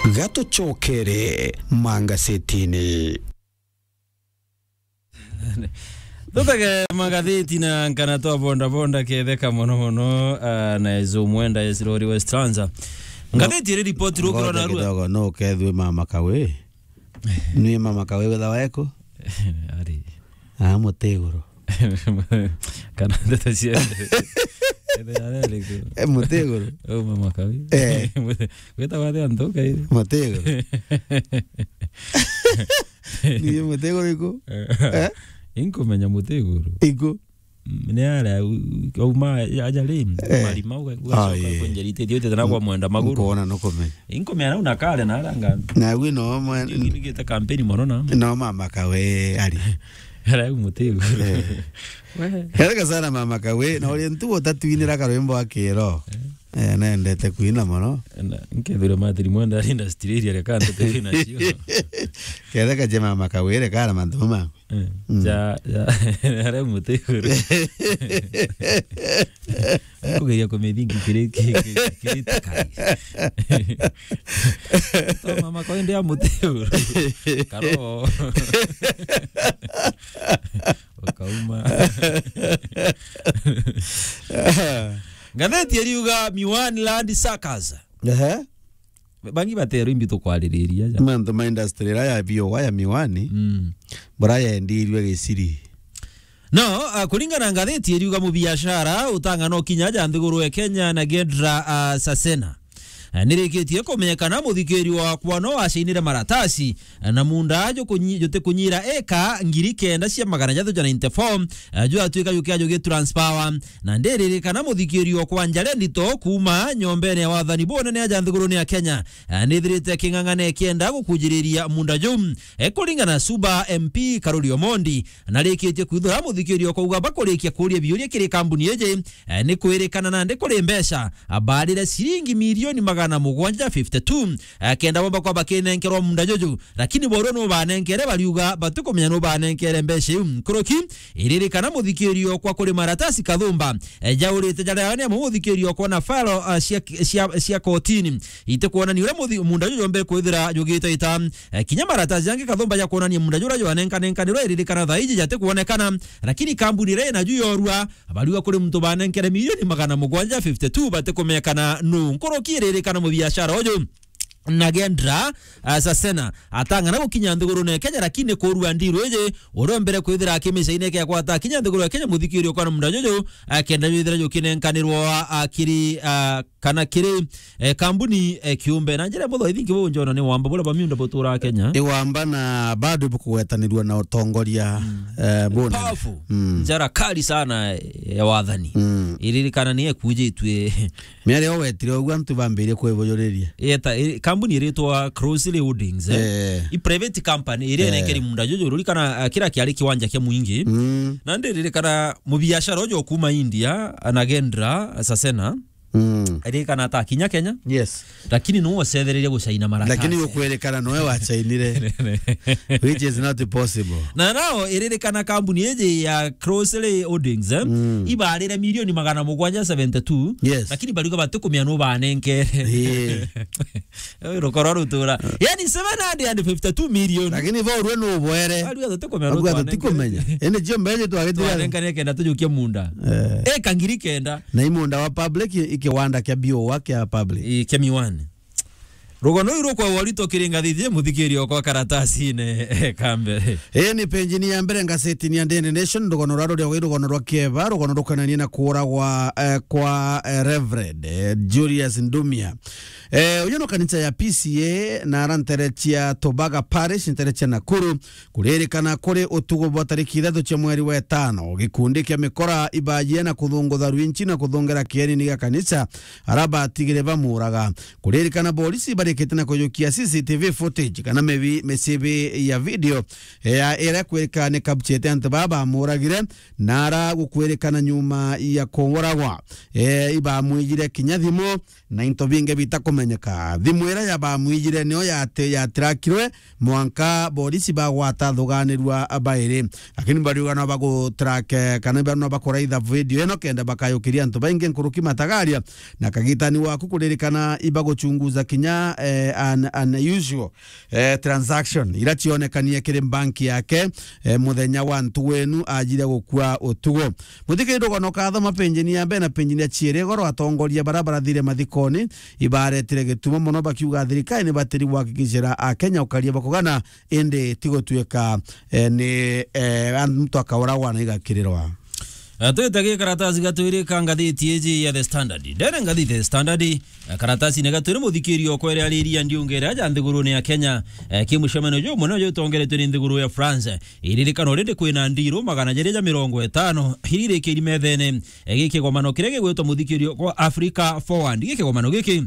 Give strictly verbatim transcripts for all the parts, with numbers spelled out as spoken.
Gatucokere mangasetini. Tutage magatheti na nkana twa bonda bonda ketheka mono mono, ah, na Ezo Mwenda, yes, Rori West Transa. Ngatheti iri ripoti rukiro na rua. Kidogo, no kethwe mama kawe. Nwi mama kawe wetha weko? Ari. Ah, Mutiguru. Kana ndeto cia. Ethera riko. Eh, Mutiguru. Oh, mama kawe. Eh. Gweta wathe antu kai. Mutiguru. Ni Mutiguru iku? Eh? Inkumenya Mutiguru. Iku? Mm, ni aria u-, auma aja ri, eh, marima uga, ugacoka, ah, ii, kwenjera itithio itete na kwa mwenda maguru. Nkuona nukumenya. Inkumenya nau na kare na aranga. Na wi no mwe- Ni, ni gita kampeni mono na. No mama kawe ari. Ara Mutiguru. Eh. We. Erega sana mama kawe, na uri ntu utatwinira karwimbo akiro. Eh. Eh, nendete kwina mono. Na, nkethira Matiri Mwenda ari industry iria reka ndeto ina cio. Ketheka je mama kawe, reka ara mantu mama. Eh, mm. Ja, ja, ara Mutiguru. Kugeria kumithingi kiri, ki-, ki-, kiri takai. To mama kawe ndi a Mutiguru. Karo. Ukauma. Ngatheti iriuga Miwani Land Suckers. Ehe. Bangi baterwo imbi tukwaririria ja. Mantu ma industry ira ya biua ya miwani, mm, bura yendirwe Giciri. No, ah, kuringana na ngatheti iriuga mubiashara utang'ana ukinya ja nthiguru ya Kenya na Gendra, ah, Sasena. Eh, nirikitie kumenyekana muthikiri wakwa no wacainire maratasi, eh, na munda jukunyi-, jutikunyira eka ngiri kenda cia magana jathatu ja ninety-four, eh, jwatuika jukia jugi transpower. Na ndiririkana muthikiri okwa njare ndito kuuma nyombene ya wathani bunene aja nthiguruni ya Kenya, eh, nithirite king'ang'ana ikienda gukujiriria munda juu. Eh, kuringana na Suba M P Karuri Omondi, narikitie kwithura muthikiri okwa uga bakurikia kuria biuria kiri kambuni iji, eh, ni kwirikana nandi kuri mbeca, abarire ciringi milioni magana mugwanja fifty-two, eh, kenda bomba kwa bakinenkerwa munda juju, lakini borwe nubanenkere bariuga batikumenya nubanenkere mbeca iu. Nkuruki, iririkana muthikiri okwa kuri maratasi kathumba, eh, jaurite jaria ni amu muthikiri okwa na file, ah, cia, cia, cia kotini itikwonania uria muthi-, munda juju jombe kwithira jugite ita. Eh, kinya maratasi jangi kathumba ja kwonania munda juria jwanenkanenkanirwe iririkana thaa iji jatikwonekana, lakini kambuni iria inaju yorua, bariuga kuri muntu banenkere milioni magana mugwanja fifty-two batikumekana nu. Nkuruki iririkana mubiashara uju Nagendra, ah, Sasena atang'ana gukinya nthigurune ya Kenya, lakini kurua ndiru iji uria mbere kwithira akimicaine ke akwata akinya nthiguru ya Kenya muthikiri okwa na munda juju, ah, kenda jwithira jukinenkanirwa, ah, kiri, ah, kana kiri, eh, kambuni, eh, kiumbe. Na njira mutho ithingi bu njona ni wamba buria bamiunda butura Kenya. Ni wamba na bado bukugwetanirua na utongoria, mm, eh, bunene. Powerful. Mm. Njara kali sana ya wathani. Mm. Iririkana ni ekujitwe. Miario wetire uguo antu bambirie kwibujuriria. Yeta, i-, kambuni iritwa Crossley Holdings, eh? Eh. I private company iria, eh, inenkeri munda juju, rurikana, ah, kira kiari kiwanja kia mwingi. Mm. Na ndiririkana mubiashara uju kuma India, Nagendra Sasena. Mm. Ririkana ata kinya Kenya. Yes. Lakini no ocethereria gucaina maratasi. Lakini ukwirikana noe wacainire. Which is not possible. Na nao iririkana kambuni iji ya Crossley Holdings, eh? Mm. Ibarire milioni magana mugwanja seventy-two. Yes. Lakini bariuga batikumenya nu banenkere. Ii. Rukoro rutura. Yani seven hundred and fifty-two million. Lakini bo urwe nu ubwere. Bariuga tutikumenya nu twanenkere. Bariuga tutikumenya. Indi cio mbeje twagitire. Twanenkere kenda tujukie munda. Eh. Eka ngiri kenda. Na i munda wa public, i kiwanda kia biua kia public. I, kia miwani. Rugono iu rukwa warito kiri ngathithie muthikiri okwa karatasine ka mbere. Ii ni penjini ya mbere ngasetini ya Daily Nation, rugono rwa ruria rwi rugono rwa kieba, rugono rukonanie na kuuragwa, eh, kwa, eh, Reverend, eh, Julius Ndumia. Eh, uyu no kanisa ya P C A na ara ntere cia Tobaga Parish, ntere cia Nakuru, kuririkana kuri utuku bwa tariki ithatu cia mweri wa itano, gikundi kia mikora ibaajie na kuthungutha rwinchi na kuthungera kienini gia kanisa, ara batigire bamuuraga. Kuririkana borisi barikite na kujukia C C T V footage kana mibi-, micibi ya video, eh, ya ira kwirika ni capturete antu baa bamuuragire, na ara gukwirikana nyuma ya kuuragwa, eh, ibamwijire kinya thimu na into bingi bitakume- menyeka. Thimu iria yabamwijire niyo yati-, yatirakirwe, mwanka borisi bagwata thuganirua bairi. Lakini bariuga no bagutrack, eh, kana bariuga no bakuraitha video ino kenda bakayukiria antu baingi nkuruki matagaria. Na kagitani waku kuririkana ibaguchunguza kinya, eh, an, an unusual, eh, transaction ira cionekanie kiri banki yake, eh, muthenya wa ntugu inu ajire gukua utugo. Muthikiri rugono kathoma penjini ya mbere na penjini ya ciiri igoro, atongoria bara barathire mathikoni ibaretire gitumo mono, bakiuga thirikari ni batiri gwakikishira Akenya ukaria bakugana, indi ti gutuika, eh, ni, eh, antu akauragwa na igakirirwa. Eh, twite gi karatasi gatwiri ka ngathiti iji ya The Standard. Ndene ngathiti The Standard, eh, karatasi ni gatwiri muthikiri okwa iria ariria ndiunga iria ja nthigurune ya Kenya, eh, ki mucemanio jumunene uju utongeretwe ni nthiguru ya France. Iririkano rindi kwina ndiru magana jeri ja mirongo itano iria irikiri methene, eh, gi kigomano kiria gigwitwa muthikiri okwa Africa Forward. Gi kigomano giki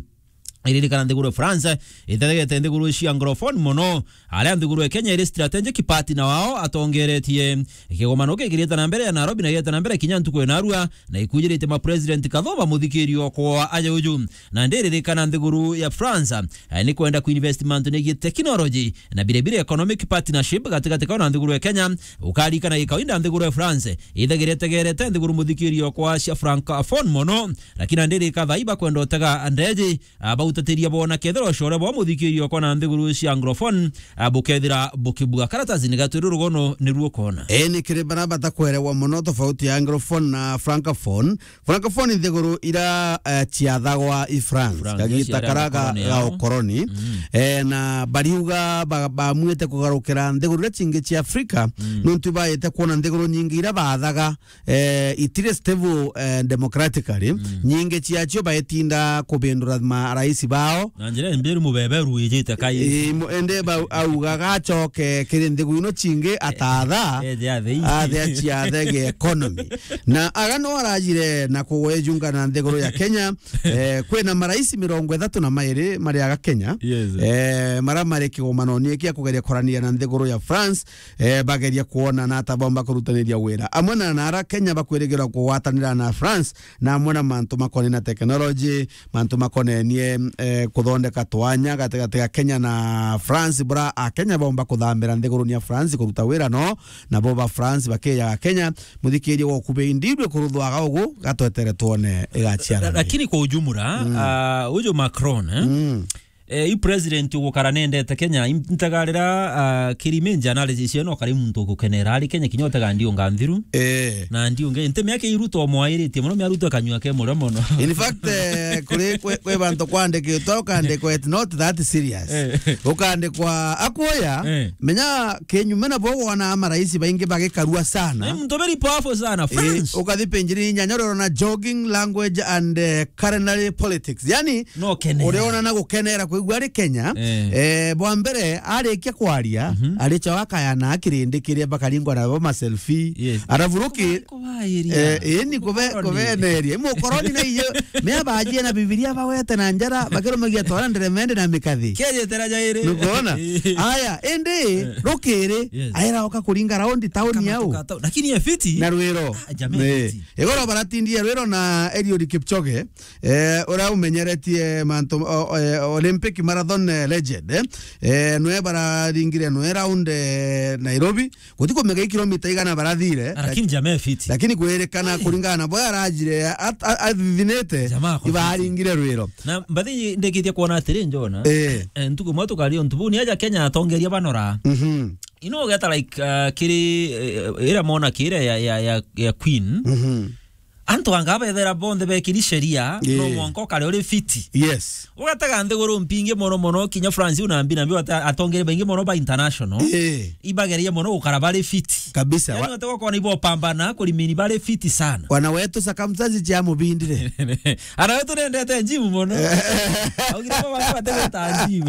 iririkana nthiguru ya France itetegete nthiguru cia Anglophone mono, aria nthiguru ya Kenya iri strategic partner wao atongeretie. Kigomano gikirite na mbere ya Nairobi na gigete na mbere kinya ntuku ya narua, na ikujirite ma president kathoba muthikiri okwa aja uju. Na ndiririkana nthiguru ya France, eh, ni kwenda kuinvest mantu negie technology na bire bire economic partnership gatigati kao na nthiguru ya Kenya. Ukarikana gikawaida nthiguru ya France ithagire tegerete nthiguru muthikiri okwa cia Francophone mono, lakini ndirika thai bakwenda utega ndeji a, bautatiria bona kethira ucore bwa muthikiri okwa na nthiguru cia Anglophone, a, bukethira bukibua. Karatasi ni gatwiri rugono ni ruo kona. Ii, ni kiri bara batakwerewa mono tofauti ya Anglophone na Francophone. Francophone nthiguru ira, eh, ciathagwa i France, France, kagita cia karia ga, koloni ga yao. Ukoroni. Mm. Eh, na bariuga ba-, bamwite kugarukira nthiguru iria cingi cia Afrika, mm, nontu baite kuona nthiguru nyingi ira bathaga eh, itire stable, eh, democratically. Mm. Nyingi ciacio baetinda kubindura marais bao. Na njira mbiru mubeberu wijite kai. Eh, mu-, ende ba-, auga gacoke kiri nthiguru ino cingi atatha, eje athei. Athe aciathe gi economy. Na aga no arajire na kugwejunga na nthiguru ya Kenya, eh, kwina marais mirongo ithatu na mairi mari aga Kenya. Yes. Eh, mara mari kigomano ni kia kugeria korania na nthiguru ya France, eh, bageria kuona na ata bomba kurutaniria wira. Amwe na, na ara Kenya bakwirigirwa kugwatanira na France, na amwe na mantu makonenie na technology, mantu makonenie, eh, kuthondeka twanya gatigati ga Kenya na France, bura a Kenya bomba kuthambira nthiguruni ya France kuruta wira no, na bo ba France bakijaga Kenya, muthikirie wa kubeindidwe kuruthwaga ugu, gatwetere twone igaciara. Lakini kwa ujumla, mm, ah, uju Macron, eh? Mm. Eh, i president ugukara nendete Kenya, im-, ntagarira, ah, kiriminja analysis eno kari muntu ugukenera ari Kenya kinya utega ndiunga nthiru. Eh. Na ndiunge, nte miaka iruto mwairitie mono, miaruto kanyua ke murio mono. In fact, eh, kuri kwe, kwe bantu kwandikitwa, ukandikwa it's not that serious. Eh. Ukandikwa akuoya, eh, menya kinyume na bo wona marais baingi bagikarua sana. Eh, muntu very powerful sana, eh, France. Ukathi penjiri inyanya urona jogging, language and, eh, culinary politics. Yani, no kenera. Uriona na gukenera kwigua ari Kenya. Eh. Eh, bwa mbere, arikia kwaria, mhm, aricha wakaya na kirindi kiria bakaringwa na bo ma selfie. Yes. Arabu ruki, eh, eh, ni kube-, kubeneria. Mukoroni na iyo, me abajie na Bibilia bawete na njara, bakirumagia twara nderemende na mikathi. Kiaje tera jairi. Nukuona? Eh. Aya, indi, eh, rukiri, yes, aira oka kuringa raundi tauni yau. Lakini ye fiti. Na rwiro. Ah, jamani, eh, fiti. Igoro baratindie rwiro na Eliud Kipchoge. Eh, uria umenyeretie mantu, o, o, eh, Olympic marathon, eh, legend, eh. Eh, nwe bararingire nwe round, eh, Nairobi. Guti kumenya i kilomita igana barathire. Ah, lakini jamaa fiti. Lakini kwirikana, ai, kuringana na boya arajire, at-, a-, athithinite, jamaa ako fiti. Ibaringire rwiro. Na mbathi ndikitie kuona atiri, njona. Eh. Eh, ntuku mwe tukari untu buni aja Kenya atongeria banora. Mhm. Ino ugeta like, uh, kiri, eh, ira mona kire ya, ya, ya, ya Queen. Mhm. Antu anga bethera bonthe bekiri sheria, ii, no mwanka ukare uri fiti. Yes. Ugatega nthiguru mpingi mono mono, kinya France una mbi na mbi ata-, atongere baingi mono ba international. Ii. Ibageria mono gukara bari fiti. Kabisa. Yani wa- wate gukona ibo pambana kurimini bari fiti sana. Wana wetu circumstances cia mubindire. Ana wetu nendete gym mono. Augire bo baba bategeta gym.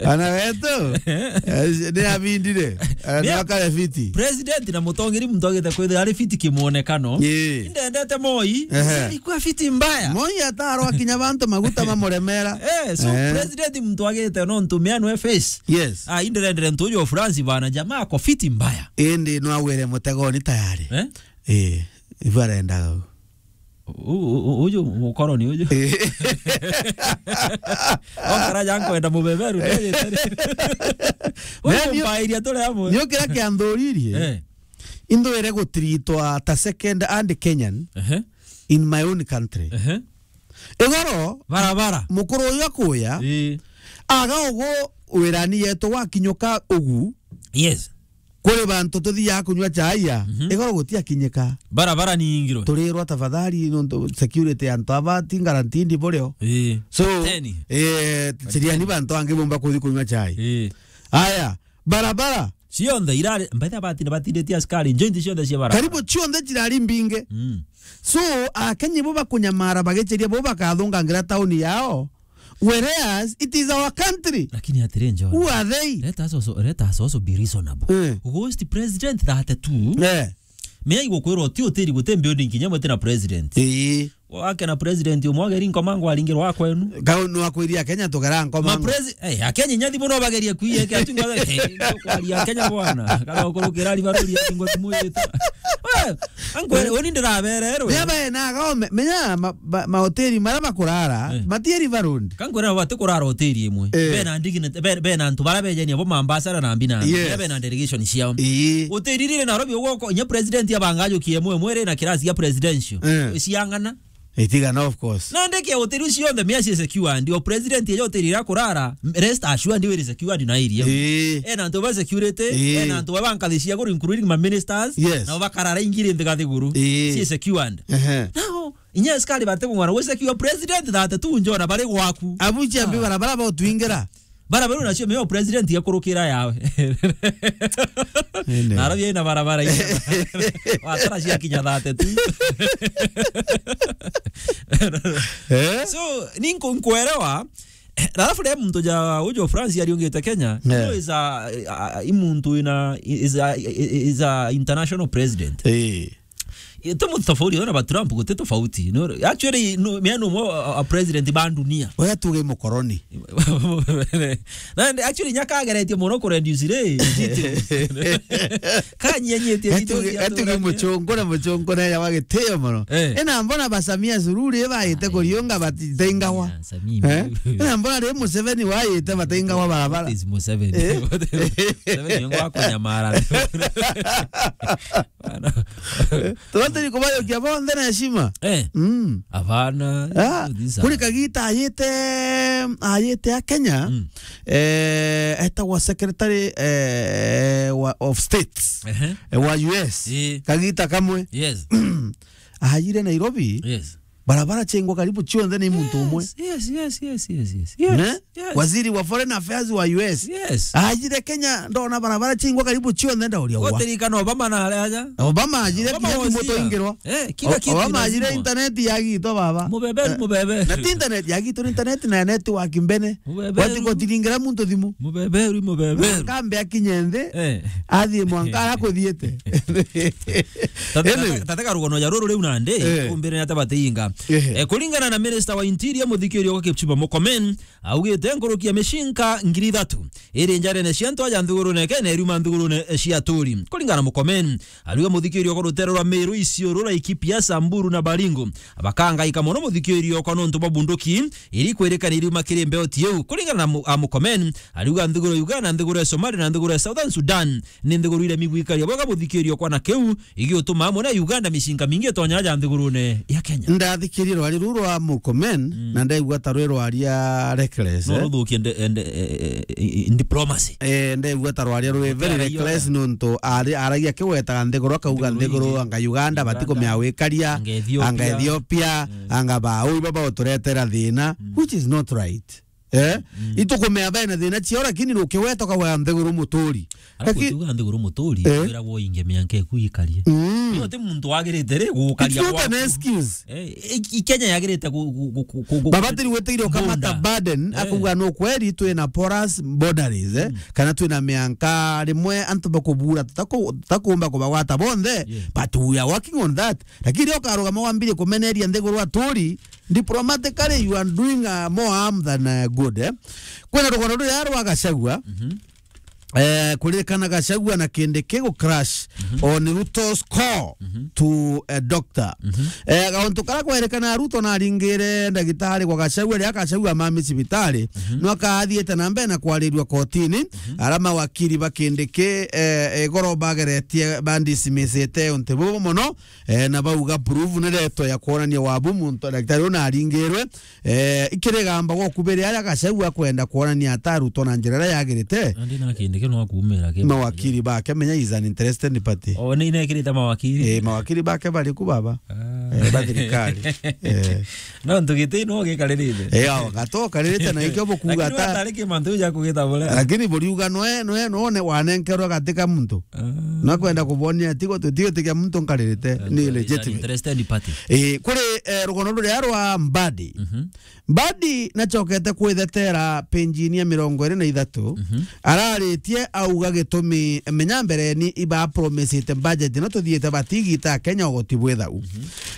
Ana wetu, eh, ni abindire. Eh, ni akare fiti. President na mutongeri muntu agite kwithira ari fiti kimuonekano. Ii. Indendete Moi, ehe, alikuwa fiti mbaya. Moi atarwa kinya bantu maguta mamuremera. Eh, so, eh, president muntu agite no ntumia nwe face. Yes. Ah, inderendere ntuju France bana jamaa ako fiti mbaya. Indi no agwire mutegoni tayari. Eh? Eh, ibu arendaga u. U-, u-, u-, uju mukoroni uju. Eh. Okara ja nkwenda mubeberu, ndejete ri. Uyu Nani u-, mbairia turi amwe. Ni ukira kianthuririe. Eh. Indwire gutiritwa ta second hand Kenyan Ehe. in my own country. Ehe. Igoro, Barabara. mukuru uyu akuya, Ii. aga ugu wirani yetu wakinyuka ugu, Yes. kuri bantu tuthiaga kunywa chai ya, Mhm. igoro gutiakinyika. Barabara ni ingiro. Turirwa tafadhali nontu security ya antu aba ti guaranteed burio. Ii. So, Teni. eh, chiriani bantu angi bumba kuthi kunywa chai. Ii. Aya, barabara. Cionthe irari, mbaitha batinda batinditie askari, njointi cionthe cia barabara. Karibu cionthe cirari mbinge. Mm. So, Akenya bo bakunyamara bagicheria bo bakathungangira tauni yao. Whereas it is our country. Lakini atiri, John. Who are they? Let us also, let us also be reasonable. Eh. Ghost president thirty-two. Eh. Mea igukwirwa ti utiri guti building kinya mwete na president. Ii. Wake na president umwe ageri nkomango aringirwa kwenu. Kau no akwiria Kenya tugera Ma nkomango. presi-, eh, Akenya nyathi bono bageria kwiye ke atunga, eh, kwaria Kenya bwana. Kana ukurukira riba ruri atunga tumuyita. Eh, ankwe, oni ndirabererwe. Menya bae na gao, me-, menya ma-, ba-, mahoteli mara bakurara, Eh. matieri barundi. Kankwira bati kurara hoteli imwe. Eh. Bena dignity, be-, bena antu bara bejenia bo mambasara na mbina. Yes. Bena delegation ciao. Ii. Hoteli rire Nairobi ugoko, nya president abanga ajukie mwe mwere na kirasi ya presidential. Eh. Ciang'ana. Itigana, of course. Na ndeke hoteli cionthe mia cie secured. O president ejo hoteli ira kurara, rest assured we secured na iria. Ii. Ena antu ba security, Ii. ena antu ba bankathi cia guru, including ma ministers, Yes. na bakarara ingiri nthi gathiguru. Ii. Cie secured. Ehe. Now, inya askari bate kung'ora, we secure president thirty-two njona bari gwaku. Abuchi ambi Ah. barabara botwingira. Barabara nacio meo president yakurukira yawe. Ene. Narabi ina barabara ina. Watara cia kinya thirty-two. Eh? So, ninko nkuelewa. Alafu le muntu ja ujo France ariungite Kenya, Yeah. no is a, a, a, i muntu ina, is a, is a international president. Eh. Ito muntu tofauti, ona ba Trump guti tofauti. No, actually, no, me no mo a, a president ba dunia. Oya tuge mukoroni. Na ndi-, actually, nyaka ageretie muno ku reduce ri, details. Kanyenyetie Etu-, details ya etuge tugania. Muchungu na muchungu na ya wagitio muno. Eh. Ina mbona ba Samia Suluhu ri baite Ai, kuriunga batitengawa? Samia, Samia. Eh? Ina mbona ri Museveni waite bateingawa barabara? What is Museveni? Eh? What is Museveni? Ngo akunyamara. Bana. Turatiri kubayokia bonthe na heshima. Eh. Mm. Abana, Ah, these kuri are Kagita ayite, ayite a Kenya, Mm. eh, etagwa secretary, eh, wa, of states, Ehe. eh, wa U S. Eh. Kagita kamwe. Yes. Ayire Nairobi. Yes. Barabara chengwa karibu chionthe ni muntu umwe. Yes, yes, yes, yes, yes, yes. Ne? Yes. Waziri wa Foreign Affairs wa U S. Yes. Ajire Kenya, ndona barabara chingwa karibu chionthe, ndauria wa. Gotirikana Obama na aria aja. Obama ajire Obama kinya thimũ wazia. Twaingĩrwa. Eh, kila O-, kitu Obama ajire lazima. Internet yagitwa baba. Mubebe, Eh, mubebe. Na ti internet yagitwa, internet na network mbene. Mubebe. Wati gotiringira muntu thimũ. Mubebe, uri mubebe. Kambe akinye nthi. Eh. Athie mwanka arakuthiete. Tate, Ene. Tate, tate karugono ja ruru riu nandi, Eh. umbire ni ata bateinga. Ehe. Eh, kuringana na Minister wa Interior, Muthikiri wa Kipchumba Murkomen, augite nkuruki ya micinka ngiri ithatu iri njarene cia antu aja nthigurune Kenya iriuma nthigurune cia aturi. Kuringana na Murkomen, ariuga muthikiri okwa rutere rwa Meru, Isiolo, Laikipia, Samburu na Baringo bakangaika mono muthikiri okwa nontu bwa bunduki iri kwirikana iriuma kiri mbeo ti iu. Kuringana na Mu-, a Murkomen, ariuga nthiguru ya Uganda, nthiguru ya Somalia na nthiguru ya Southern Sudan ni nthiguru iremi gwikaria bwega muthikiri okwa na kiu igiutuma amwe na Uganda micinka mingi itonya aja nthigurune ya Kenya. Ndathikirie rwari ruru rwa Murkomen, Mm. na ndaigua ta rwi rwaria reckless, No eh? ruthukie nde-, ende-, eh, eh, eh, diplomacy. Eh, ndaigua ta rwaria rwi very Gutera iyo reckless nda. Nontu ari-, aragia akiwetaga nthiguru, akauga Nthiguru nthiguru ingi. Anga Uganda, Uganda, batikumea wikaria, anga Ethiopia. Anga Ethiopia, Mm. anga ba, ui baba uturetera thina, Mm. which is not right. Eh? Mm. Itukumea bena thina ciao, lakini rukiweta ukauga nthiguru muturi. Arafu Laki- ukiuga nthiguru muturi, Eh? wira wo inge mianka iku ikarie. Mm. Uyo ti muntu wagirite ri gukaria It's not an gwaku. Excuse. Eh, i, i Kenya yagirite gu-, gu-, gu-, gu-, gu-, Baba tiri wetire ukamata bunda. Burden, Eh. Akuga no kweri twina porous boundaries, eh? Mm. Kana twina mianka rimwe antu bakubura tutaku-, tutakumba kubagwata bonthe, Yeah. but we are working on that. Lakini riria ukarugama wambirie kumeneria nthiguru aturi, diplomatically, you are doing, uh, more harm than, uh, good, eh? Kwina rugono ruria rwa Gachagua, Mhm. Eh, kuririkana Gachagua na Kindiki gu crash on Ruto's call to a doctor. Eh, gauntu karia kwerikana Ruto naringire ndagitari kwa Gachagua, riria Gachagua mami cibitari, no akaathiite na mbere na kwarirua kotini, ara mawakiri ba Kindiki, eh, igoro bageretie bandismisite untu bubu mono, eh, na bauga proof ni reto ya kwonania wabu muntu, ndagitari uyu naringirwe, eh, ikirigamba gwa kubiri aria Gachagua kwenda kwonania ata Ruto na njira iria yagirite. Nandi na Kindiki no akumira ki mawakiri bake, menya is an interested party. O, ni inekirite mawakiri? Eh, mawakiri bake bari ku baba. Ah. Eh, ba thirikari. Eh. No, ntugiti no gikaririte. Eh, ao, gato karirite na ikio bukuga. Lakini ata watari ki mantu ja kugita bure. Lakini buriuga noe, noe, none wanenkerwa gatika muntu. Ah. Na kwenda kubonia tigo, tutigo tikia muntu nkaririte. Eh, ni legitimate. Interested party. Eh, kuri, eh, rugono ruria rwa Mbadi. Mhm. Mbadi nachokete kwithetera penjini ya mirongo iri na ithatu, araritie auga gitumi menya mbereni ibapromisite budget no tuthiite batigita Kenya ugoti bwithau.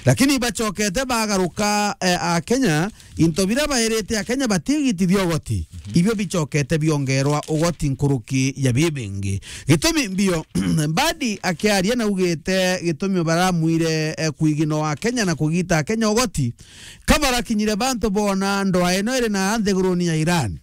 Lakini ibachokete bagaruka, eh, a Kenya, into bira bairite a Kenya batigitithia ugoti, ibio bichokete biongerwa ugoti nkuruki ya bibingi. Gitumi mbio, Mbadi akiaria naugite gitumi baramwire, eh, kwigino a Kenya na kugita Kenya ugoti, kabarakinyire bantu bona ndwaa ino iri na nthiguruni ya Iran.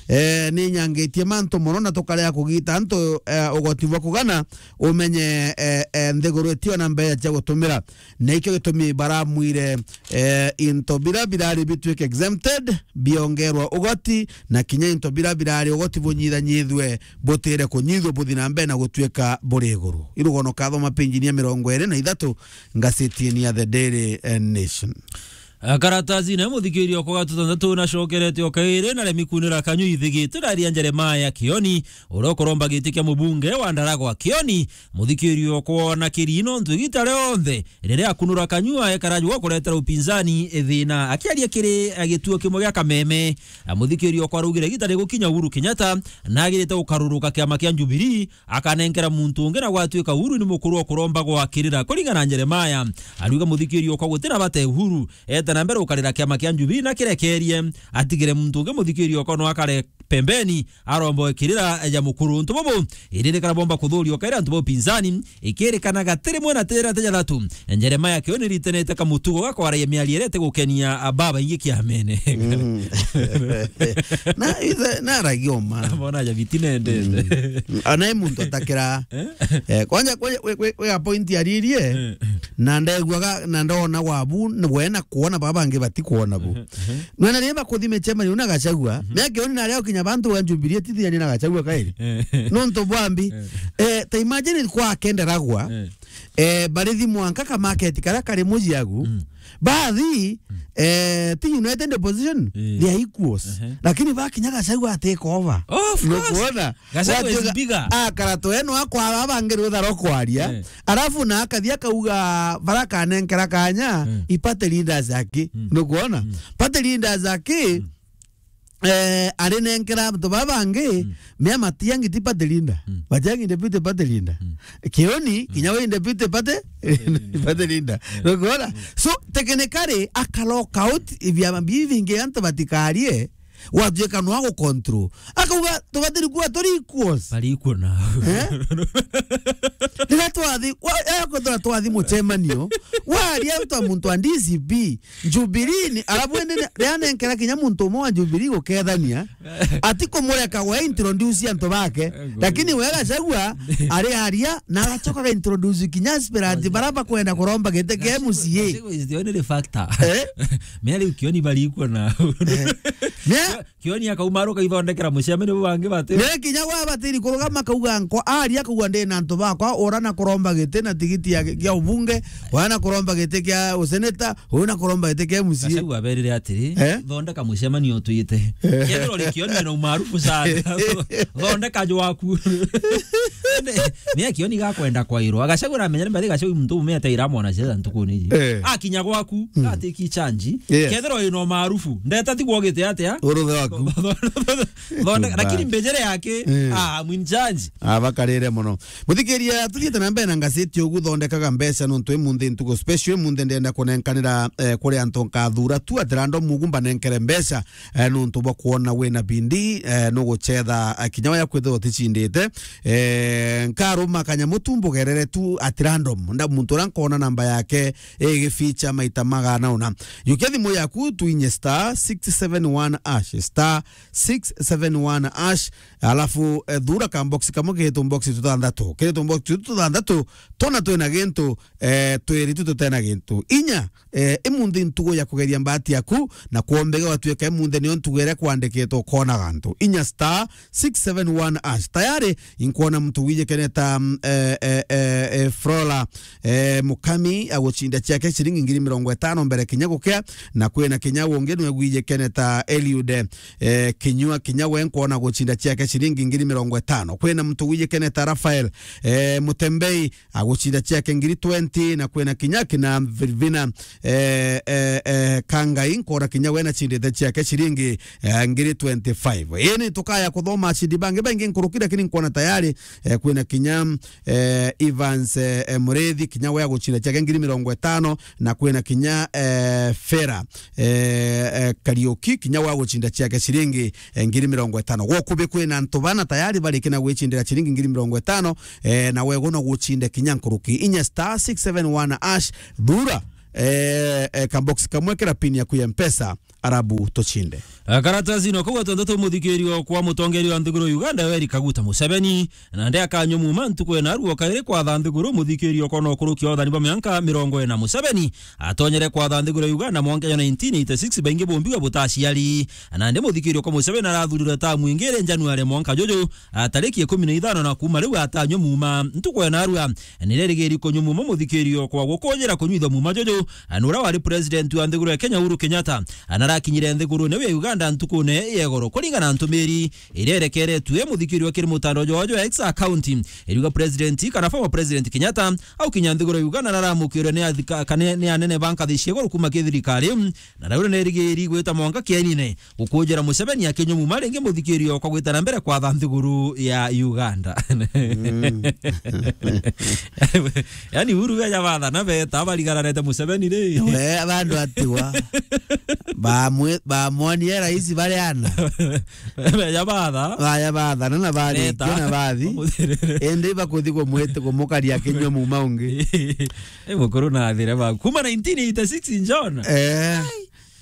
Eh, ni nyangitie mantu mono na tukarega kugita antu, eh, ugoti bwa kugana umenye, eh, eh, nthiguru itio na mbeca cia gutumira. Na ikio gitumi baramwire, eh, into bira birari bitwike exempted, biongerwa ugoti, na kinya into bira birari ugoti bunyithanyithwe, butire kunyithwa buthi na mbere na gutwika buri iguru. Irugono kathoma penjini ya mirongo iri na ithatu, ngazetini ya The Daily, eh, Nation. A, karatasi na muthikiria okwa gatutantatu nacokerete o kairi na remi kunira kanyu ithigite ndaria Jeremiah Kioni, uria ukuromba giti kia mubunge wa Ndaragwa. Kioni, muthikiria okwa na kirino ntu igita rionthe riria akunura kanyu aekara jwa kuretera upinzani thina. Akiaria kiri, a, gituo kimwe gia Kameme, a, muthikiria okwa araugire igita rigukinya Uhuru Kenyatta nagirite gukaruruka kiama kia Jubilee, akanenkera muntu ungi na gwatuika Uhuru ni mukuru o kuromba gwakirira. Kuringana na Jeremiah, ariuga muthikiria okwa gutina bate Uhuru ete na mbere ukarira kiama kia Jubilee na kirekerie, atigire muntu ungi muthikiria okwa no akare pembeni, aromba gwakirira ja mukuru. Untu bubu iririkana bomba kuthuria ukaira antu ba upinzani, ikirikana gatiri mwe na tira te jathatu. Jeremiah Kioni ritenete kamutugo ga kwaragia miario iria itigukenia babaingi kiamene. Mm. Na, ithe, na aragia uma. Bona ja bitinendete. Mm. Ana e muntu atakira. Eh? Eh, kwanja, kwanja, we, we, we a point aririe. Eh. Na ndaiguaga, na ndona wabu, we na kuona baba bangi batikwona bu. Mhm, mhm. Nona riria bakuthi micemani una Gachagua, mhm, mea Kioni na aria ukinya bantu wa Jubilee tithirania na Gachagua kairi. Eh. Nontu bwambi. Eh. Eh, ta imagine kwa kenderagwa. Eh. Eh, barithi mwanka ka market karia kari mujiagu. Mm. Bathi, mm, eh, ti United Opposition, eh, they are equals. Ehe. Lakini bakinya Gachagua take over. Of course. Nukuona? Gachagua is bigger. Akara tweno akwa aba bangi rutha rwa kwaria. Eh. Arafu na akathi akauga bara kanenkera kanya, mm, i party leaders aki. Mm. Nukuona? Mm. Party leaders aki, mm, eh, arinenkera antu baba bangi, mm, mea matiangi ti party leader. Mm. Batiangi deputy party leader. Mm. Kioni, mm, kinya we deputy party, party leader. Party leader. Mm. Nukuona? Mm. So, technically, akalock out ibiama bibi bingi antu batikarie, gwatuika no agu control. Akauga, tubatiri kuwa turi equals. Bari equal na. Eh? Riria twathi, wa, eh, kwithira twathi mucemanio, waria ta muntu wa D C P, Jubilee ni, arabu indi ni, riria nenkera kinya muntu umwe wa Jubilee gukethania, ati kumureka we introduce antu bake, lakini we Gachagua ari aria, na agacoka ga introduce kinya aspirant bara bakwenda kuromba giti kia M C A. Gachagua is the only factor. Eh? Mea riu Kioni bari equal na. Eh. Mea Kioni akaumaruka ithondekera mucemanio bu bangi bati. Ni kinya gwa batiri kurugama akauga nko, aria akauga ndi na antu bakwa, ura na kuromba giti na tigiti ya, ya ubunge, ura na kuromba giti kia useneta, ura na kuromba giti kia M C A. Gachagua aberire atiri, eh? Thondeka mucemanio twite. Eh. Kethirwa ri Kioni na umaarufu sana. Thondeka jwaku. Ni akioni gakwenda kwairwa. Agacagura amenya ni mbathi gacagura muntu ume ataira mwana ciaca ntukuni iji. Eh. Akinya gwaku, mm, gatiki chanji. Yes. Kethirwa ino maarufu. Ndeta ti gwogite atia? Uruthe waku. Thonde-, lakini mbejere yake, eh, ah, mwin chanji. Abakarire mono. Muthikiria, tuthiite na mbere na ngaciti ugu, thondekaga mbeca nontu imunthi ntugo special, imunthi ndenda kunenkanira, eh, kuri antu nkathura tu at random ugu mbanenkere mbeca, eh, nontu bwa kwona wina bindi, eh, nugucetha, eh, kinya waya kwithirwa uticindite. Eh, nkaruma kanyamu tu mbugerere tu at random. Nda muntu uria nkona namba yake igificha maita magana una. Yukia thimu yaku tuinye star six seven one hash, star six seven one hash, alafu, eh, thura ka box kamwe kiritwo box tuthanthatu. Kiritwo box tuthanthatu, tona twina gintu, eh, twiri tu tutena gintu. Inya, eh, imunthi ntugo ya kugeria mbati yaku, na kwombege watuika imunthi nio ntugo iria kwandikitwe ukona gantu. Inya star six seven one hash. Tayari, inkwona muntu wijikene ta, mm, eh, eh, eh, eh, Flora, eh, Mukami agucinda ciake ciringi ngiri mirongo itano mbere kinya gukia, na kwina kinya ungi nwe gwijikene ta Eliude, eh, Kinyua, kinya we nkwona gucinda ciake ciringi ngiri mirongo itano. Kwina muntu wijikene ta Rafael, eh, Mutembei, agucinda ciake ngiri twenty, na kwina kinya kina Virvina, eh, eh, eh, Kangai, nkona kinya we nacindite ciake ciringi, eh, ngiri twenty-five. Ini tukaya kuthoma acindi bangi baingi nkuruki, lakini nkwona tayari, eh, kwina kinya, eh, Evans, eh, eh, Murithi, kinya we agucinda ciake ngiri mirongo itano, na kwina kinya, eh, Fera, eh, eh, Kariuki, kinya we agucinda ciake ciringi, eh, ngiri mirongo itano. Gwokubi kwina antu bana tayari barikina gwicindira ciringi ngiri mirongo itano, eh, na wego no gucinde kinya nkuruki. Inya star six seven one hash, thura, eh, eh, kabox kamwe kira pin yaku ya Mpesa, arabu tucinde. Eh, karatasi no kugwa tontu tu muthikirio kwa mutongeria wa nthiguru Uganda, Yoweri Kaguta Museveni, na nde akanywa muma ntuku ena ruo kairi kwatha nthiguru muthikirio kwa no kurukia uthani bwa mianka mirongo ina. Museveni atonyere kwatha nthiguru Uganda mwanka ya nineteen eighty-six, baingi bumbiwa butaciari. Nandi muthikirio kwa Museveni arathurirwe tamu ingi iri January mwanka juju, a, tariki ikumi na ithano, na kuma riu atanywa muma ntuku ya narua. Nirerigiri kunywa muma muthikirio kwa gukujira kunywithwa muma juju, a, nuria wari president wa nthiguru ya Kenya Uhuru Kenyatta, a, narakinyire nthigurune ya Uganda ntukune ya igoro. Kuringana na ntumiri iria irekeretue muthikirio kiri mutandao jwa, jwa X account, iriuga president kana former president Kenyatta aukinya nthiguru ya Uganda naramukirwe ni athika-, kana ni anene ba nkathi cia iguru kuma ki thirikari, na rau nerigiri gwita mwanka kienine gukujira Museveni akinywa muma ringi muthikirio kwa gwita na mbere kwatha nthiguru ya Uganda. Mm. Yani Uhuru beja batha na beta barigaranete Museveni ri. We, bandu atigwa. Bamwe-, bamwonie rais bari ana. Beja batha. Baya batha, na, na barikia, na bathi. Indi bakuthi kumwite kumukaria akinywa muma ungi. Eh, mukuru na athire ba. Kuma nineteen eighty-six, John. Eh.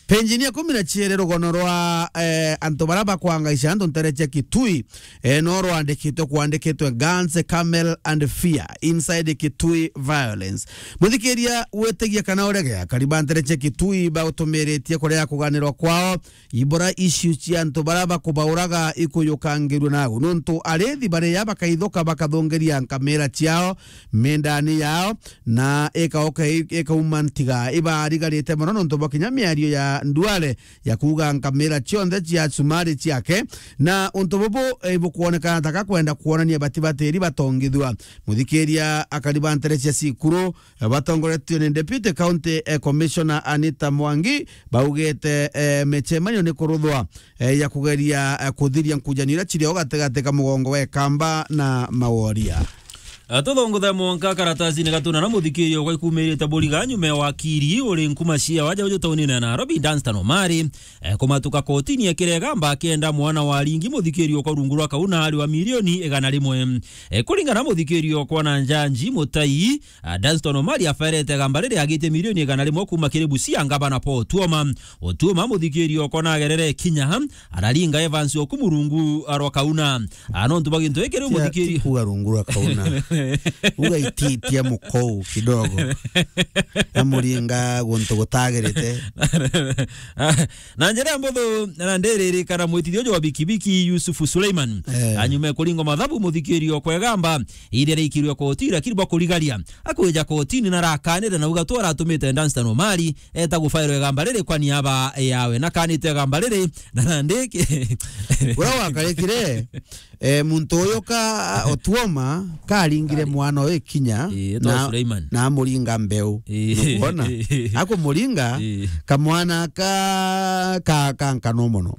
Penjini ya kumi na ciere rugono rwa, eh, antu bara bakwangaica antu ntere cia Kitui, eh, no rwandikitwe, kwandikitwe Guns, Camel and Fear inside Kitui Violence. Muthikiria, witigia kana urege, akari ba ntere cia Kitui bautumiritie kuria kuganirwa kwao, ibura issue cia antu bara bakubauraga ikuyukangirua nagu. Nontu arithi baria bakaithuka bakathungiria nkamira ciao mindani yao, na ikauka i-, ikauma ntiga. Ibarigarite mono nontu bwa kinya miario ya Duale ya kuuga nkamira cionthe cia cumari ciake, na untu bubu, eh, ibukwonekana ta kakwenda kwonania bati batiri batongithua. Muthikiria, akari ba ntere cia Sikuru, eh, batongoretue ni Deputy County, eh, Commissioner Anita Mwangi, baugite, eh, micemanio ni kuruthwa, eh, ya kugeria, eh, kuthiria nkujanio iria cirio gatigati ka mugongo wa Ikamba na Maworia. Eh, tuthongothe mwanka karatasini gatuna na muthikirio gwa ikumirite buriga nyuma ya wakiri uri nkuma cia waja uju taunine ya Nairobi, Dunstan Omari, eh, kumatuka kotini akirega mba akienda mwana wa ringi muthikirio kwa rungu rwa kauna ari wa milioni igana rimwe. Eh, kuringana na muthikirio kwa na njanji Mutai, ah, Dunstan Omari aferete gamba riri agitie milioni igana rimwe kuma kiri Busia ngavana Paul Otuoma. Otuoma muthikirio kwa na agerere kinya araringa Evans Okumu rungu rwa kauna. Ah, nontu bwa gintu giki riu muthikirio kuga rungu rwa kauna. Ugaititia mukou kidogo. Na muringa guntu gutagirite. Na njira mbuthu, na ndiririkana mwitithio uju wa bikibiki Yusuf Suleiman. Eh. Anyume kuringwa mathabu muthikirio kwegamba, iria riikirwe koti, lakini bwa kurigaria. Akwija kotini na arakanire na uga tu aratumite Dunstan Omari eta gufairwa igamba riri kwa niaba yawe. Na kanite igamba riri, na nandiki. Uria wakarikire, eh, muntu uyu ka Otuoma, karingire mwana uyu kinya, ii, etwa na, Suleiman. Na amuringa mbeu. Ii. Nukwona? Akumuringa, ii, kamwana ka, ka, ka nkano mono.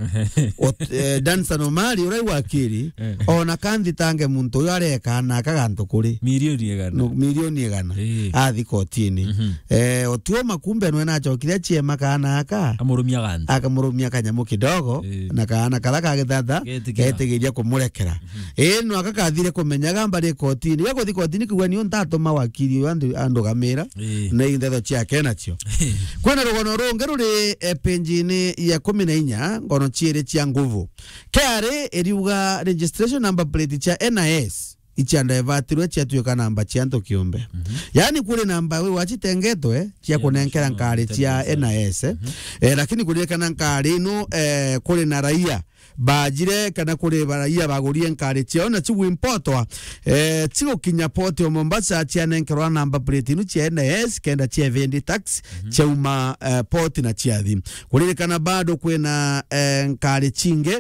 Ot-, eh, Dunstan Omari, uria wakiri, eh, ona kanthitange muntu uyu areka na akagantu kuri. Milioni igana. No, milioni igana. Ii. Athi kotini. Mhm. Eh, Otuoma kumbe nwe nachokire aciema kaana aka. Amurumia gantu. Akamurumia kanyamu kidogo, ii, na kaana kara ka githata, getigira, getigiria kumurekera. Mhm. Ii, no aka kathire kumenya gamba ri kotini. Gakuthi kotini kugua niu ntatuma wakiri uyu andu-, andugamira. Ii. Na inthetho ciake nacio. Kwina rugono rungi ruri, eh, penjini ya kumi na inya, ngono ciiri cia nguvu. K R A iriuga registration number plate cia N I S icia divertirwe ciatuika namba cia antu kiumbe. Mhm. Yaani kuri namba we wacitengetwe cia, cia kunenkera national nkari cia intelligence. N I S, eh. Mhm. Eh, lakini kuririkana nkari ino, eh, kuri na raia bajire kana kuri ba-, raia bagurie nkari ciao na ciguimpotwa, eh, cigukinya port ya Mombasa cianenkerwa namba plate inu cia N I S kenda cia evendi tax, mhm, ciauma, eh, port na ciathi. Kuririkana bado kwina, eh, nkari cingi,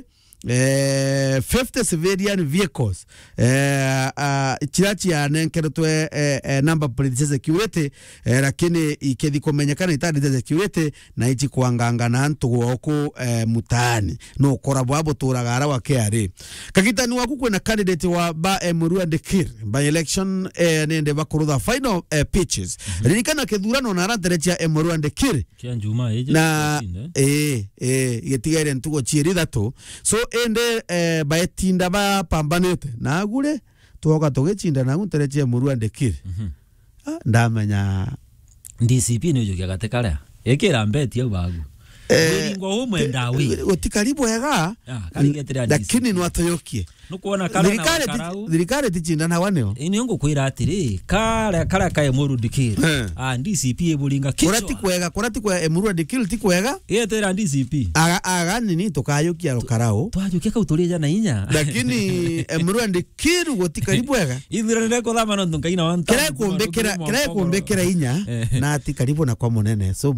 eh, fifty civilian vehicles, eh, ah, ciria cianenkeretwe, eh, eh, number plate cia security, eh, lakini ikethi kumenyekana itari cia security na ici kwanganga na antu gwoku, eh, mutaani. No ukora bwa buturaga ara wa K R A. Kagitani waku kwina candidate wa ba, eh, Murua Dikir, by election, eh, nende bakurutha final, eh, pitches. Mhm. Ririkana kithurano na arantere cia, eh, Murua Dikir. Kia Njuma iji na, tucinde. Eh, eh, gitigaire ntugo ciiri ithatu. So, ende, eh, baetinda bapambanite. Na agure, twoka tugicinda na agu ntere cia Murua Dikir. Mhm. Ah, ndamenya. D C P ni ujukia gati karia. Ikira mbeti au bagu. Eh, wiringwa umwe ndawi. Gutikari bwega. Ah, karigetera D C P. Lakini nwatoyokie. Nukwona kara na thirikari ti-, karau. Thirikari ticindanagwa nio. Ii, nio ngukwira atiri, kara, kara ka Emuru Dikir. Eh. Ah, D C P iburinga kichwa. Kura ti kwega, kura ti kwega, Emuru Dikir ti kwega. Yetera D C P. Aga, aga nini tukayukia rukarau. Twajukia kau turija na inya. Lakini Emuru Dikir gutikari bwega. Ithira nire kuthama nontu Ngai na wanta. Kira kumbikira, kira kumbikira inya, eh, na ati karibu na kwa munene. So,